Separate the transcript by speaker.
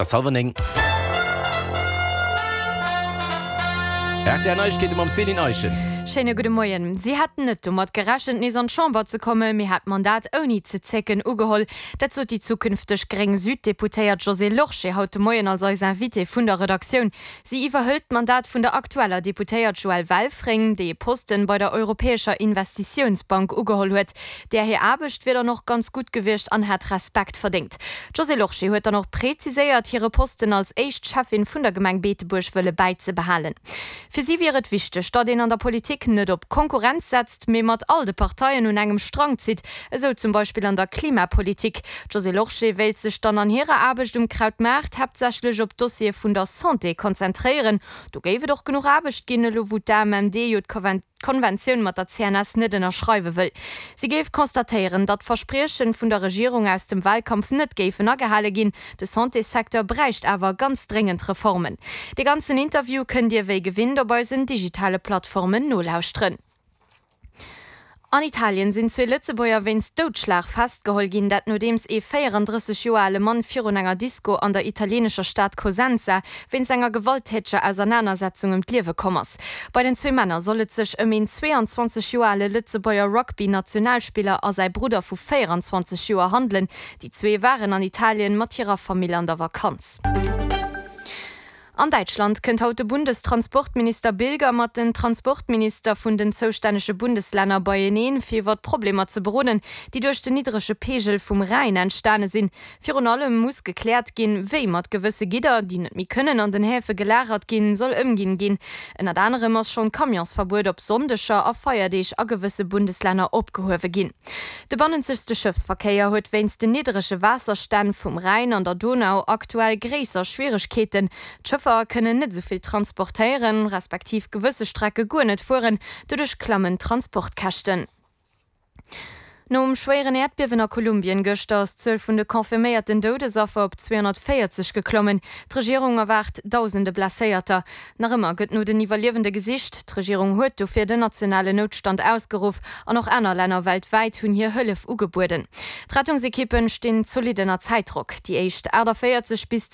Speaker 1: Et ass hallwer 9. Rtl Neiegkeete mam Céline Eischen.
Speaker 2: Schéine gudde Moien. Si hätt net domat gerechent, nees an d'Chamber ze kommen, mee hat d'Mandat ouni ze zécken ugeholl. Dat sot déi zukünfteg gréng Süddeputéiert Josée Lorsché haut de Moien als eis Invitée vun der Redaktioun. Si iwwerhëlt d'Mandat vun der aktueller Deputéiert Joëlle Welfring, déi e Posten bei der Europäescher Investitiounsbank ugeholl huet. Där hir Aarbecht wier dann och ganz gutt gewiescht an hätt Respekt verdéngt. D'Josée Lorsché huet dann och präziséiert, hire Posten als éischt Schäffin vun der Gemeng Beetebuerg wëlle bäizebehalen. Fir si wier et wichteg, datt een an der Politik net op Konkurrenz setzt, mee mat all de Parteien un engem Strang zitt, esou zum Beispill an der Klimapolitik. D'Josée Lorsché wéilt sech dann an hirer Aarbecht um Krautmaart haaptsächlech op d'Dossiere vun der Santé konzentréieren. Do géif et och genuch Aarbecht ginn, elo wou d'AMMD jo d'Konventioun mat der CNS net ënnerschreiwe wëll. Si géif constatéieren, datt d'Verspriechen vun der Regierung aus dem Wahlkampf net géifen agehale ginn. De Santéssecteur bräicht awer ganz dréngend Reformen. Dee ganzen Interview kënnt Dir wéi gewinnt op eisen digitale Plattformen nolauschteren. An Italien sinn zwee Lëtzebuerger wéinst Doudschlag festgeholl ginn. Dat nodeems ee 34 Joer ale Mann virun enger Disko an der italienescher Stad Cosenza wéinst enger gewalttäteger Ausernanersetzung ëm d'Liewe komm ass. Bei den zwee Männer soll et sech ëm een 22 Joer ale Lëtzebuerger Rugby-Nationalspiller a säi Brudder vu 24 Joer handelen. Déi zwee waren an Italien mat hirer Famill an der Vakanz. An Däitschland kënnt haut de Bundestransportminister Bilger mat den Transportminister vun den zoustännege Bundeslänner beieneen, fir iwwer d'Problemer ze beroden, déi duerch den niddrege Peegel vum Rhäin entstane sinn. Virun allem muss gekläert ginn, wéi mat gewësse Gidder, déi net méi kënnen an den Häfe gelagert ginn, soll ëmginn ginn. Ënnert anerem ass schonn d'Camionsverbuet op Sonndeger a Feierdeeg a gewësse Bundeslänner opgehuewe ginn. De bannenzegste Schëffsverkéier huet wéinst den niddrege Waasserstänn vum Rhäin an der Donau aktuell gréisser Schwieregkeeten. D'Schëffer kënnen net esou vill transportéieren, respektiv gewësse Strecke guer net fueren. Doduerch klammen d'Transportkäschten. Nom schwéieren Äerdbiewen a Kolumbien gëschter ass d'Zuel vun de confirméierten Doudesaffer op 240 geklommen. D'Regierung erwaart dausende Blesséierter. Nach ëmmer gëtt no den Iwwerliewende gesicht. D'Regierung huet dofir den nationalen Noutstand ausgeruff an och aner Länner weltwäit hunn hir Hëllef ugebueden. D'Rettungsekippen stinn zolidd ënner Zäitdrock. Déi éischt 48 bis.